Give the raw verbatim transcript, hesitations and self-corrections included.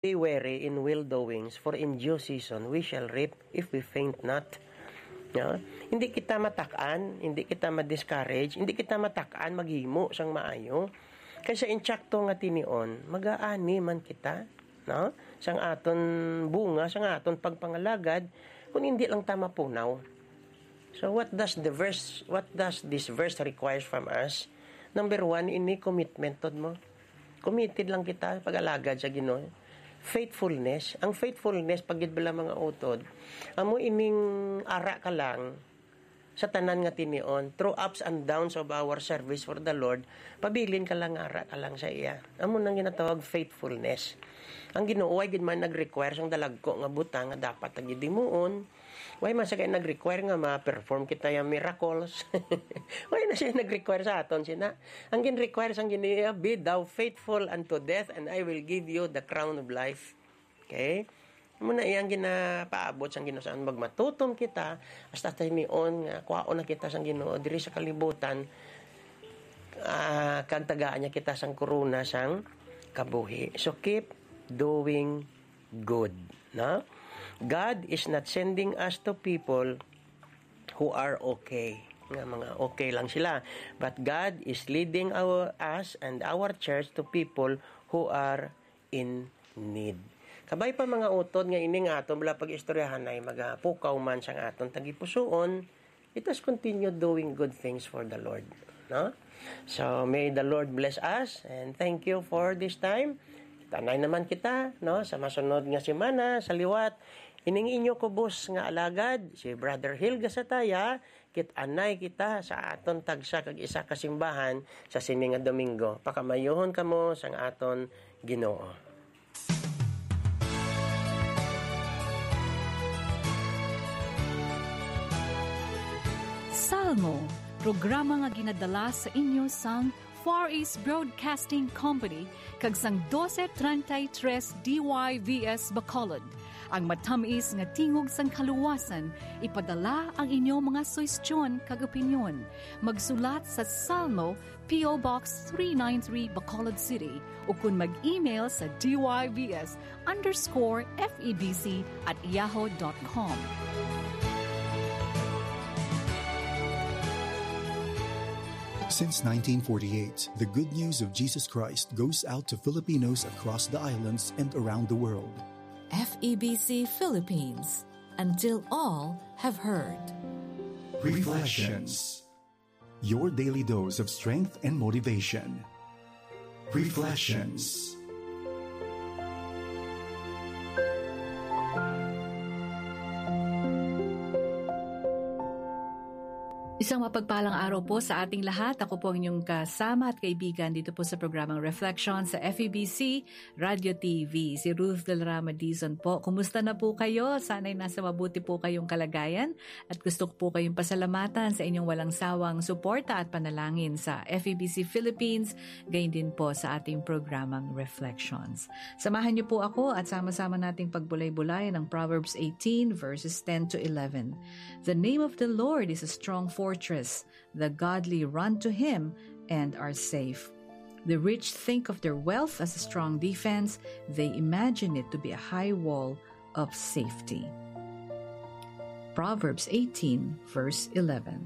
Be wary in well doings, for in due season we shall reap if we faint not. No? Hindi kita matak-an, hindi kita ma-discourage, hindi kita matak-an maghimo sang maayo. Kay sa insakto nga tinion, magaani man kita, no? Sang aton bunga, sang aton pagpangalagad, kung hindi lang ta mapunaw. So what does the verse, what does this verse requires from us? Number one, ini commitment, tod mo. Committed lang kita pag-alagad sa Ginoo. Faithfulness. Ang faithfulness, pag gid bala mga utod, amo ining ara ka lang sa tanan nga tinion, through ups and downs of our service for the Lord, pabilin ka lang, ara ka lang sa iya. Amo nang ginatawag faithfulness. Ang Ginoo, way gid man nag-require sang dalagko nga butang nga dapat ta gid himuon. Way man sa kay nag-require nga ma-perform kita yang miracles. Way na siya nag-require sa aton, sina. Ang gin-require sang Ginoo, "Be thou faithful unto death, and I will give you the crown of life." Okay? Amo na iyang ginapaabot sang Ginoo, saan magmatutom kita, hasta tinion nga kuhaon na kita sang Ginoo diri sa kalibutan, ah, kag tagaan niya kita sang korona sang kabuhi. So keep doing good, no? God is not sending us to people who are okay, nga mga okay lang sila. But God is leading our, us and our church to people who are in need. Kabay pa mga utod nga ini nga aton bala pag-istoryahan ay magapukaw man sang aton tagipusoon, let us continue doing good things for the Lord, no? So may the Lord bless us, and thank you for this time. Kita-anay naman kita, no, sa masunod nga semana. Sa liwat, ining inyo kubos nga alagad, si Brother Hilga Sataya. Kita-anay kita sa aton tagsa kag isa ka simbahan sa sini nga Domingo. Pakamaayuhon kamo sang aton Ginoo. Salmo, programa nga ginadala sa inyo sang Far East Broadcasting Company kag sang doce treinta y tres D Y V S Bacolod. Ang matamis nga tingog sang kaluwasan, ipadala ang inyo mga suhestyon kag opinyon. Magsulat sa Salmo, P O Box three nine three, Bacolod City, ukon mag-email sa D Y V S underscore F E B C at yahoo dot com. Since nineteen forty-eight, the good news of Jesus Christ goes out to Filipinos across the islands and around the world. F E B C Philippines, until all have heard. Reflections. Your daily dose of strength and motivation. Reflections. Isang mapagpalang araw po sa ating lahat. Ako po ang inyong kasama at kaibigan dito po sa programang Reflection sa F E B C Radio T V, si Ruth Del Rama Dizon po. Kumusta na po kayo? Sana'y nasa mabuti po kayong kalagayan. At gusto ko po kayong pasalamatan sa inyong walang sawang suporta at panalangin sa F E B C Philippines, gayon din po sa ating programang Reflections. Samahan niyo po ako at sama-sama nating pagbulay-bulayan ang Proverbs eighteen, verses ten to eleven. The name of the Lord is a strong fortress. The godly run to him and are safe. The rich think of their wealth as a strong defense. They imagine it to be a high wall of safety. Proverbs eighteen, verse eleven.